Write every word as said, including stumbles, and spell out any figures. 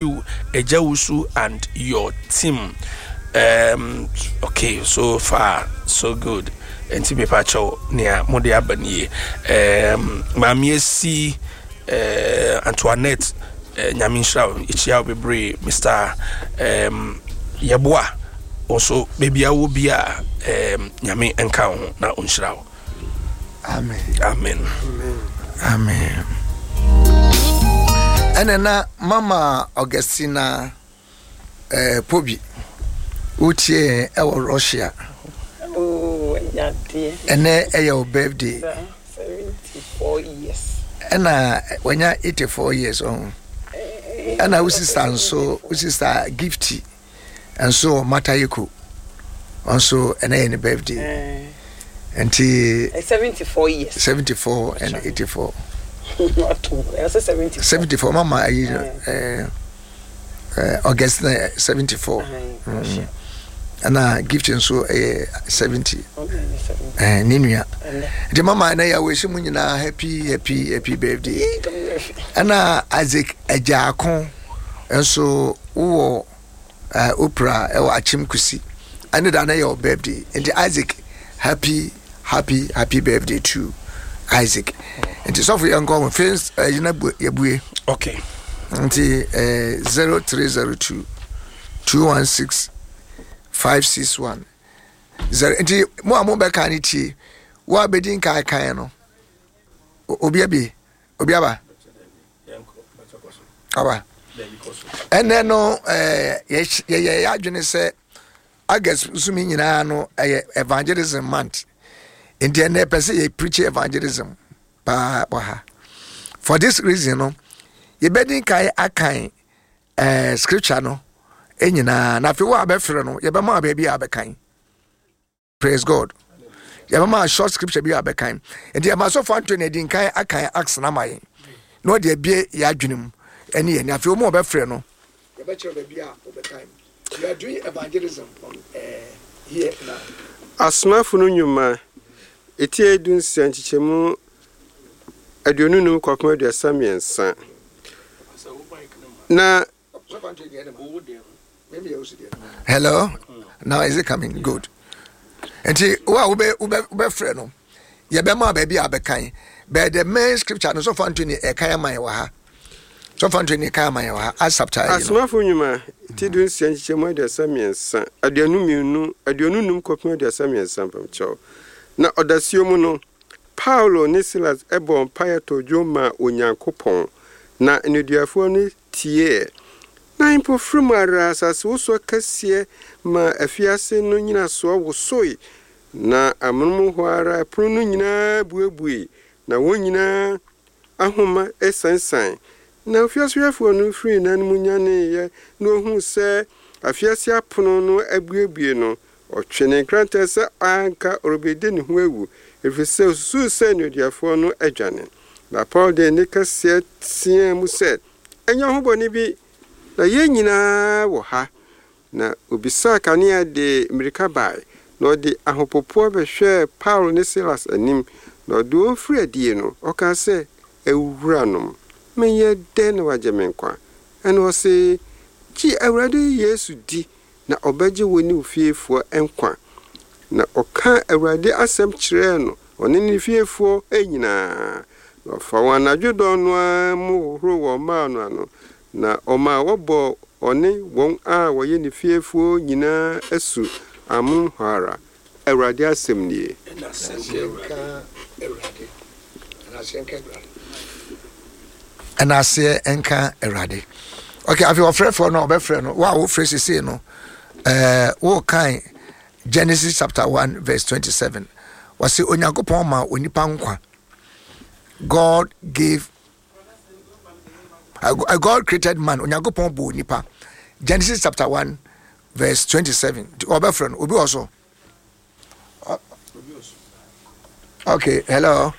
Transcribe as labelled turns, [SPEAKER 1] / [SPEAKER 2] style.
[SPEAKER 1] You, Ejawusu, and your team. Um, okay, so far so good. Nti mepa kyɛw, nea mode aba nie. Um, Maame Esi, uh, Antoinette, uh, Nyame nhyira wo, yɛkyia wo bebree. Mister Um, Yɛboa wo nso, baabi a wɔ bi a, um, Nyame nka wo ho na ɔnhyira wo.
[SPEAKER 2] Amen.
[SPEAKER 1] Amen.
[SPEAKER 2] Amen. Ɛna na Mama Augustina eh, Pobi, wotie yɛn ɛwɔ Russia.
[SPEAKER 3] Oh, nyadeɛ.
[SPEAKER 2] Ɛnɛ ɛyɛ wo birthday.
[SPEAKER 3] seventy-four years.
[SPEAKER 2] Ɛna wanya eighty-four years ɔho. Ɛna wo sister nso, wo sister Gifty nso wɔ Mataheko nso, ɛnɛ yɛ ne birthday.
[SPEAKER 3] Eh,
[SPEAKER 2] nti
[SPEAKER 3] seventy-four years.
[SPEAKER 2] seventy-four and eighty-four.
[SPEAKER 3] Ato, ɛsɛ seventy-four.
[SPEAKER 2] seventy-four, mama ayi eh, eh, Augustina seventy-four.
[SPEAKER 3] Mm.
[SPEAKER 2] Ɛna Gift nso ɛyɛ seventy. Eh, ne nua. Nti mama, ɛnɛ yɛ awɔsi mu nyinaa happy, happy, happy birthday. Ɛna Isaac Agyaako nso wowɔ uh, opera ɛwɔ Akyem Kusi, ɛne da no yɛ wo birthday. Nti Isaac, happy, happy, happy birthday to Isaac. Nti sɔfo, yɛnkɔ ho fei ɛyina yɛbue.
[SPEAKER 1] Okay.
[SPEAKER 2] Nti eh, zero three zero two two one six five six one zero. Nti mo a mobɛka ne tie, wo a bɛdi nkan kan no, o- obi abie, obi aba aba. Ɛnɛ no eh, yɛhy- yɛyɛ yɛ adwene sɛ August sumi nyinaa no ɛyɛ evangelism month. Nti ɛnɛ pɛ sɛ yɛ preach evangelism paa wɔ ha. For this reason no, yɛbɛdi nkan akan eh, scripture no nyinaa, na afei wo a bɛfrɛ no, yɛbɛma wo baabi a bɛkan. Praise God. Yɛbɛma short scripture bi a bɛkan. Nti ɛma sɔfo Antony adi nkan akan Acts na ma yɛn na ɔde abie yɛ adwene mu ɛne yɛn. Afei wɔn a wɔbɛfrɛ no, yɛbɛkyerɛ baabi a wɔbɛkan. We are doing evangelism on uh, here now.
[SPEAKER 4] Asomafo no Nnwuma, ɛti du nsia, nkyekyɛmu aduonu num kɔpem aduasa mmiɛnsa. Na
[SPEAKER 2] Hello, now is it coming good? Nti wo a wobɛ wobɛ wobɛfrɛ no, yɛbɛma baabi a bɛkan, but the main scripture no, sɔfo Antony ɛkan ama yɛ wɔ ha. Sɔfo Antony ɛkan ama yɛ wɔ ha, Acts chapter yi no.
[SPEAKER 4] Asomafo Nnwuma, ti du nsia, nkyekyɛmu aduasa mmiɛnsa, aduonu mmienu, aduonu num kɔpem aduasa mmiɛnsa. Mpamkyɛw, na ɔdasuo mu no, Paulo ne Silas ɛbɔ mpaeɛ tɔ dwom maa Onyankopɔn, na nneduafoɔ no tiee. Na mpofirim ara asasewosoɔ kɛseɛ ma afiase no nyinasoɔ wosoe, na amonom hɔ ara ɛpono no nyinaa buebue, na wɔn nyinaa ahoma esansan. Na ofiasehwɛfoɔ no firii n'anom nyaneeɛ na ohuu sɛ afiase apono no abuebue no, ɔtwe ne nkrantɛ sɛ anka ɔrebɛdi ne ho awu, ɛfiri sɛ osusuu sɛ nneduafoɔ no adwane. Na Paul de ne kɛseɛ teɛ mu sɛ, "Ɛnyɛ ho bɔne bi, na yɛn nyinaa wɔ ha." Na obisaa kanea de mmirika bae, na ɔde ahopopoɔ bɛhwɛɛ Paulo ne Silas anim. Na ɔde wɔn firi adie no, ɔkaa sɛ, "Awuranom, menyɛ dɛn na wagye me nkwa?" Ɛna ɔse, "Gye Awurade Yesu di, na ɔbɛgye wo ne wo fiefoɔ nkwa." Na ɔka Awurade asɛm kyerɛɛ no, ɔne ne fiefoɔ nyinaa. Na ɔfa wɔn anadwo dɔn no ara mu hohoro wɔn mmaa no ano, na ɔmaa wɔbɔ ɔne wɔn a wɔyɛ ne fiefoɔ nyinaa asu amonom hɔ ara. Awurade asɛm nie.
[SPEAKER 2] Nka Awurade. Ɛna nka Awurade. Ɛna aseɛ nka Awurade. Okay, afei ɔfrɛfoɔ no a ɔbɛfrɛ no, wo a wofrɛ sesei no, ɛɛ wokan Genesis chapter one verse twenty-seven. Wɔsi Onyankopɔn ma onipa nkwa. God gave uh, God created man. Onyankopɔn bɔ onipa. Genesis chapter one verse twenty-seven. Ɔbɛfrɛ no, obi wɔ so. Okay, hello.